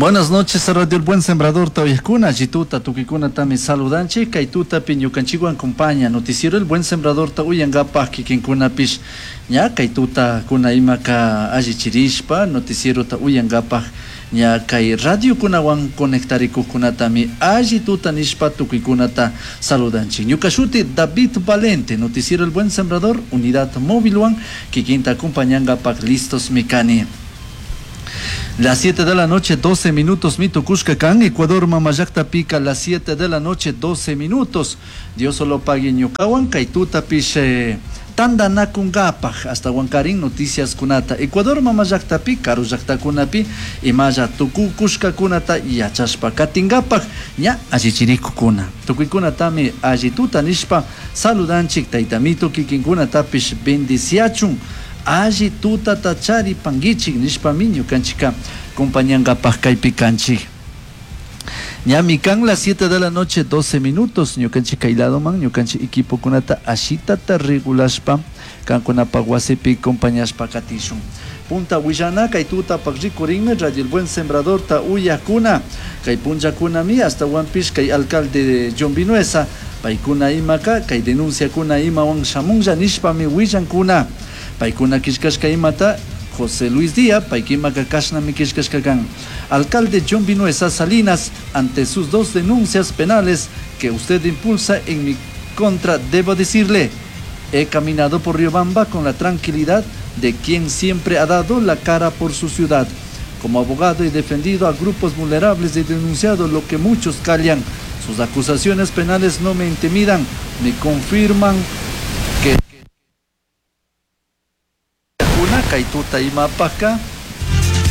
Buenas noches, Radio El Buen Sembrador ta uyajcuna, alli tuta, tucuicunatami saludanchij, kay tutapi ñukanchikwan compaña, noticiero El Buen Sembrador ta uyangapaj kikinkunapish ña kay tutakuna imaka allichirishpa noticiero ta uyangapaj ña kay radiokunawan conectarikujkunatami alli tuta nishpa tucuicunata saludanchik. Ñuka shuti David Valente, noticiero El Buen Sembrador, unidad móvilwan kikinta acompañangapaj listos mi kani. Las 7 de la noche, 12 minutos, mi tucushka kan, Ecuador mamallaktapica, las 7 de la noche, 12 minutos. Dios solo pague ñukawan, kay tutapish tandanakunkapaj, ashtawankarin noticias kunata. Ecuador mamallaktapi, karu llaktakunapi, imalla tukukushkakunata yachashpa katingapaj, ña allichirikukuna. Tukuykunatami alli tuta nishpa saludanchik, taytamito kikinkunatapish bendiciachun. Alli tutata charipanguichik nishpami ñukanchika compañangapaj kaypi kanchik. Ñami kan las 7 de la noche, 12 minutos, ñukanchik kay ladoman, ñukanchik equipokunata ashitata regulashpa, kankunapaj wasipi compañashpa katishun. Punta willana kay tutapaj rikurinmi Radio El Buen Sembrador ta uyakuna. Kay punllakunami ashtawanpish kay alcalde John Vinuesa, paykuna imaka, kay denunciakuna imawan shamunlla nishpami willankuna. Paykuna killkashka imata José Luis Díaz, paykimaka kashnami killkashka kan. Alcalde John Vinuesa Salinas, ante sus dos denuncias penales que usted impulsa en mi contra, debo decirle, he caminado por Riobamba con la tranquilidad de quien siempre ha dado la cara por su ciudad. Como abogado he defendido a grupos vulnerables y he denunciado lo que muchos callan. Sus acusaciones penales no me intimidan, me confirman que una kay tuta imapajka.